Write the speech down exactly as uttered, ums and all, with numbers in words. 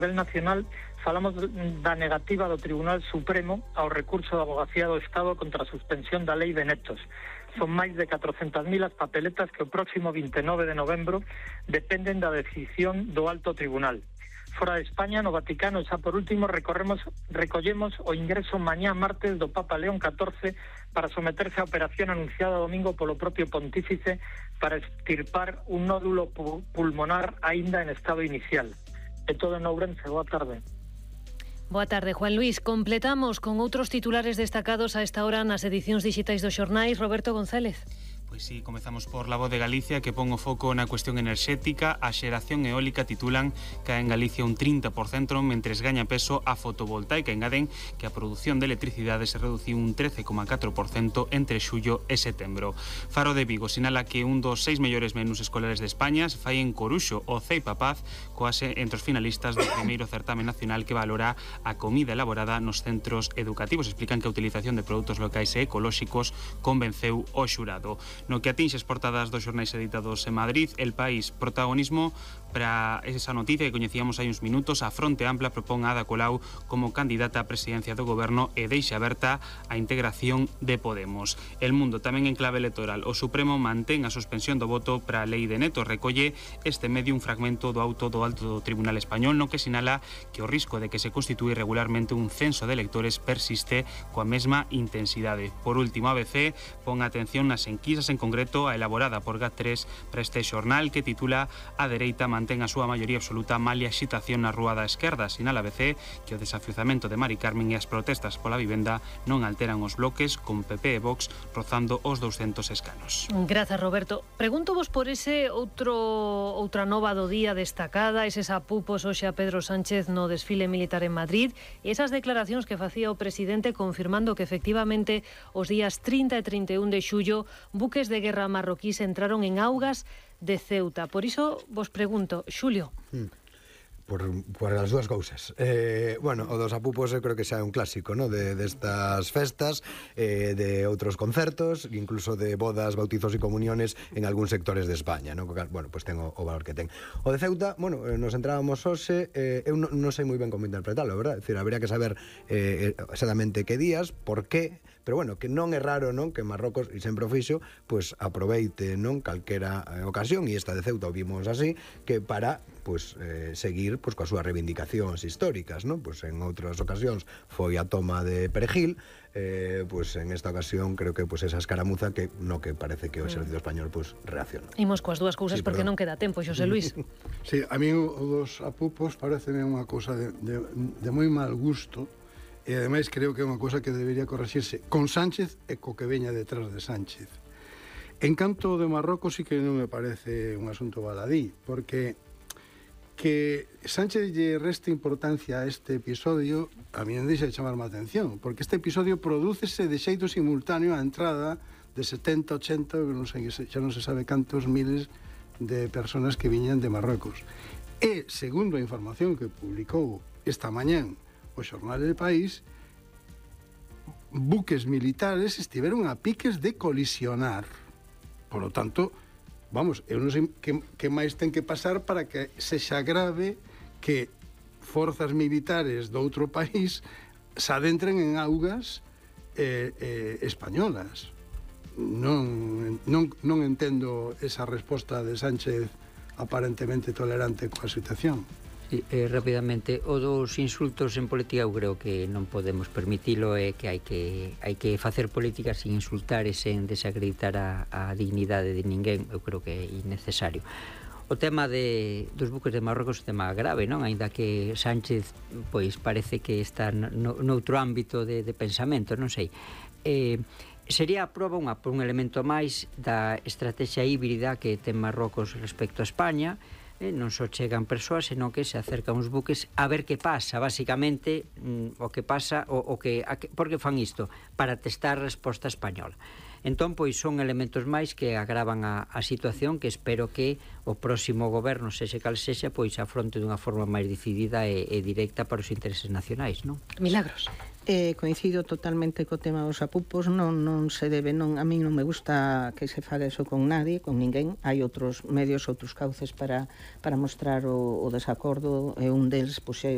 nivel nacional falamos da negativa do Tribunal Supremo ao recurso da Avogacía do Estado contra a suspensión da Lei de Netos. Son máis de catrocentas mil as papeletas que o próximo vinte e nove de novembro dependen da decisión do Alto Tribunal. Fora de España, no Vaticano, xa por último, recorremos, recollemos o ingreso mañá martes do Papa León catorce para someterse á operación anunciada domingo polo propio pontífice para extirpar un nódulo pu pulmonar aínda en estado inicial. É todo en Ourense. Boa tarde. Boa tarde, Juan Luis. Completamos con outros titulares destacados a esta hora nas edicións digitais dos xornais. Roberto González. Pois sí, comezamos por La Voz de Galicia, que pon o foco na cuestión enerxética. A xeración eólica, titulan, cae en Galicia un trinta por cento, mentres gaña peso a fotovoltaica. Engaden que a produción de electricidade se reduciu un trece coma catro por cento entre xullo e setembro. Faro de Vigo sinala que un dos seis mellores menús escolares de España se fai en Coruxo, o Ceipa Paz, coase entre os finalistas do primeiro certame nacional que valora a comida elaborada nos centros educativos. Explican que a utilización de produtos locais e ecolóxicos convenceu o xurado. No que atinxe as portadas dos xornais editados en Madrid, El País, protagonismo para esa noticia que coñecíamos hai uns minutos. A Fronte Ampla propón a Ada Colau como candidata á presidencia do goberno e deixa aberta a integración de Podemos. El Mundo, tamén en clave electoral, o Supremo mantén a suspensión do voto para a Lei de Netos. Recolle este medio un fragmento do auto do Alto Tribunal Español no que sinala que o risco de que se constitúe regularmente un censo de electores persiste coa mesma intensidade. Por último, A B C pon atención nas enquisas, en concreto a elaborada por GAT tres para este xornal, que titula A dereita mantén a súa maioría absoluta malia agitación na rúa da esquerda. Sinala A B C que o desafiuzamento de Mari Carmen e as protestas pola vivenda non alteran os bloques, con P P e Vox rozando os douscentos escanos. Grazas, Roberto. Pregunto vos por ese outro outra nova do día destacada, eses apupos hoxe a Pedro Sánchez no desfile militar en Madrid, e esas declaracións que facía o presidente confirmando que efectivamente os días trinta e trinta e un de xullo buques de guerra marroquís entraron en augas de Ceuta. Por iso vos pregunto, Xulio. Hmm. Por, por as dúas cousas. Eh, bueno, o dos apupos eu creo que xa é un clásico, ¿no? de destas de festas, eh, de outros concertos, incluso de bodas, bautizos e comuniones en algúns sectores de España, ¿no? Bueno, pues ten o, o valor que ten. O de Ceuta, bueno, nos entrábamos hoxe, eh, eu non, non sei moi ben como interpretarlo, verdad? É dicir, habría que saber eh, exactamente que días, por qué, pero bueno, que non é raro, non, que Marrocos, e sempre o fixo, pues aproveite, non, calquera eh, ocasión, e esta de Ceuta o vimos así, que para pues eh, seguir pues coas súas reivindicacións históricas, non? Pues en outras ocasións foi a toma de Perejil, eh, pues en esta ocasión creo que pues esa escaramuza que no que parece que o exército español pues reacciona. Imos coas dúas cousas sí, porque perdón. Non queda tempo, Xosé Luis. Sí, a mí o dos apupos pareceme unha cousa de, de, de moi mal gusto, e ademais creo que é unha cousa que debería corregirse con Sánchez e co que veña detrás de Sánchez. En canto de Marrocos sí que non me parece un asunto baladí, porque que Sánchez lle reste importancia a este episodio a mí non deixa de chamar má atención, porque este episodio prodúcese de xeito simultáneo á entrada de setenta, ochenta, non sei, xa non se sabe cantos miles de personas que viñan de Marrocos. E, segundo a información que publicou esta mañán o xornal El País, buques militares estiveron a piques de colisionar. Por lo tanto, vamos, eu non sei que, que máis ten que pasar para que sexa grave que forzas militares do outro país se adentren en augas eh, eh, españolas. Non, non, non entendo esa resposta de Sánchez aparentemente tolerante coa situación. Sí, eh, rapidamente, o dos insultos en política eu creo que non podemos permitilo, e que hai que hai que facer política sin insultar e sen desacreditar a, a dignidade de ninguén. Eu creo que é innecesario. O tema de, dos buques de Marrocos é un tema grave, non? Ainda que Sánchez pois parece que está no, noutro ámbito de, de pensamento, non sei. Eh, sería a proba unha, un elemento máis da estrategia híbrida que ten Marrocos respecto a España. Eh, non só chegan persoas, senón que se acercan uns buques a ver que pasa, basicamente mm, o que pasa, o, o que, a que por que fan isto? Para testar a resposta española. Entón, pois, son elementos máis que agravan a, a situación, que espero que o próximo goberno, sexe cal sexa, pois afronte dunha forma máis decidida e, e directa para os intereses nacionais, non? Milagros. Eh, coincido totalmente co tema dos apupos, non, non se debe, non, a mí non me gusta que se faga eso con nadie, con ninguén. Hai outros medios, outros cauces para, para mostrar o, o desacordo, e un deles, pois, é